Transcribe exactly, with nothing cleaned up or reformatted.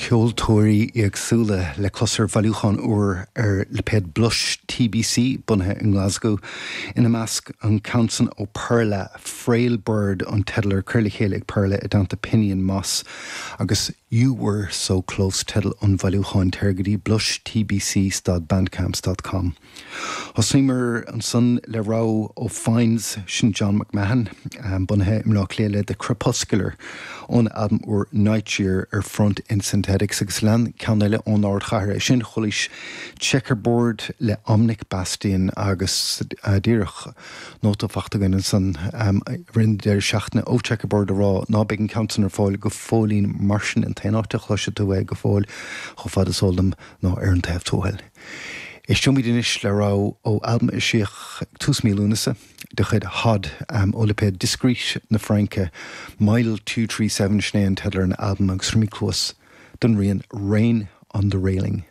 Ceoltóirí éagsúla le clos ar bhailiúchán úr ar lipéad Blush TBC bunaithe i nGlasgow. Ina measc an ceann san ó Perla Frail Bird an teideal ar curtha le chéile ag Perla i dteannta Pinion Moss agus You Were So Close teideal an bhailiúcháin téir go dtí Blush TBC stad bandcamp dot com. Thosaíomar ansan le rogha ó Finds sin John McMahon bunaithe i mBleá Cliath le The Crepuscular ón albam úr Night Year ar Front in Synthetics agus lean ceann eile ón ardchathair é sin chualaís Checkerboard le Omnic Bastion agus díreach nóta fachta againn ansan roimh an deireadh seachtaine ó Checkerboard a rá ná beidh an ceann san ar fáil go fóillín mar sin an t-aon áit a chloisfidh tú é go fóill chomh fada is eol dom ná ar an taobh tuathail. Éisteoimid anois le rogha ó albam a eisíodh ag tús mí Lúnasa de chuid Hod ó lipéad Discreet na Fraince, Mile Two Three Seven sin é an teideal ar an albam agus tabharfaimid cluas don rian Rain on the Railing.